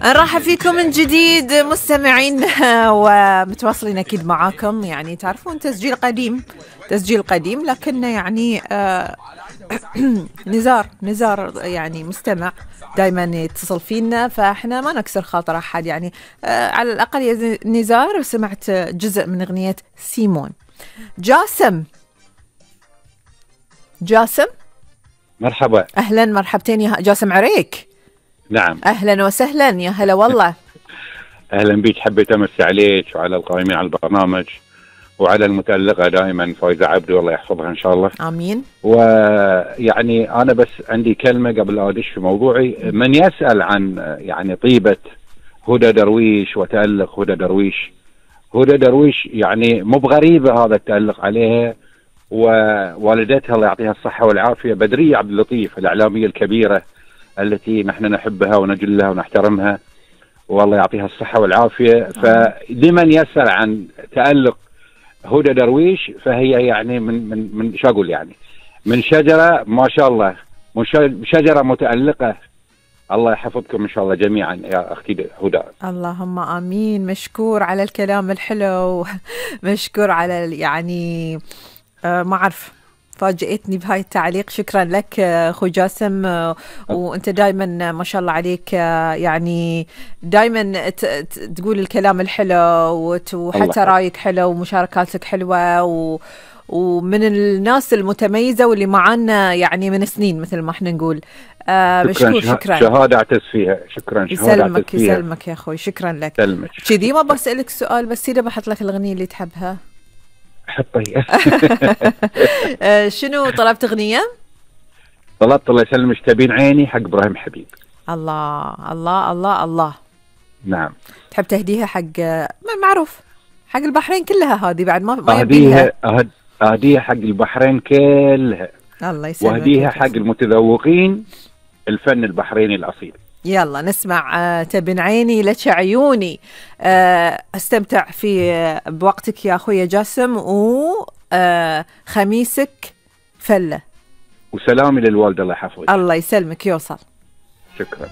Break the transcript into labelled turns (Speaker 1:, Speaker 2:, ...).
Speaker 1: نرحب فيكم من جديد مستمعين ومتواصلين أكيد معاكم. يعني تعرفون تسجيل قديم لكن يعني نزار يعني مستمع دايما يتصل فينا، فاحنا ما نكسر خاطر أحد. يعني على الأقل يا نزار سمعت جزء من أغنية سيمون. جاسم
Speaker 2: مرحبا.
Speaker 1: أهلا مرحبتين يا جاسم عريك.
Speaker 2: نعم
Speaker 1: أهلا وسهلا يا هلا والله.
Speaker 2: أهلا بك، حبيت أمسي عليك وعلى القائمين على البرنامج وعلى المتألقة دائما فايزة عبدو، الله يحفظها إن شاء الله.
Speaker 1: آمين.
Speaker 2: ويعني أنا بس عندي كلمة قبل لا أدش في موضوعي. من يسأل عن يعني طيبة هدى درويش وتألق هدى درويش يعني مو بغريبة هذا التألق عليها، ووالدتها الله يعطيها الصحة والعافية بدرية عبد اللطيف الإعلامية الكبيرة التي نحن نحبها ونجلها ونحترمها، والله يعطيها الصحة والعافية. فلمن يسأل عن تألق هدى درويش فهي يعني من شو أقول، يعني من شجرة ما شاء الله، شجرة متألقة. الله يحفظكم إن شاء الله جميعا يا أختي هدى.
Speaker 1: اللهم آمين. مشكور على الكلام الحلو، مشكور على يعني ما أعرف، فاجئتني بهاي التعليق. شكرا لك أخو جاسم. وأنت دايما ما شاء الله عليك يعني دايما تقول الكلام الحلو وحتى رايك حلو ومشاركاتك حلوة ومن الناس المتميزة واللي معانا يعني من سنين مثل ما احنا نقول. مشكور. شكرا.
Speaker 2: شهادة أعتز فيها. شكرا.
Speaker 1: يسلمك يا أخوي. شكرا لك. كذي ما بسألك سؤال بس إذا بحط لك الأغنية اللي تحبها
Speaker 2: حطي.
Speaker 1: شنو طلبت أغنية؟
Speaker 2: طلبت الله يسلمك تبين عيني حق إبراهيم حبيب.
Speaker 1: الله الله الله الله.
Speaker 2: نعم.
Speaker 1: تحب تهديها حق معروف حق البحرين كلها هذه بعد ما
Speaker 2: أهديها حق البحرين كلها.
Speaker 1: الله يسلمك.
Speaker 2: وأهديها حق المتذوقين الفن البحريني الأصيل.
Speaker 1: يلا نسمع تبن عيني لك عيوني. استمتع بوقتك يا أخوي جاسم، وخميسك فلة.
Speaker 2: وسلامي للوالدة الله يحفظك.
Speaker 1: الله يسلمك يوصل.
Speaker 2: شكرا.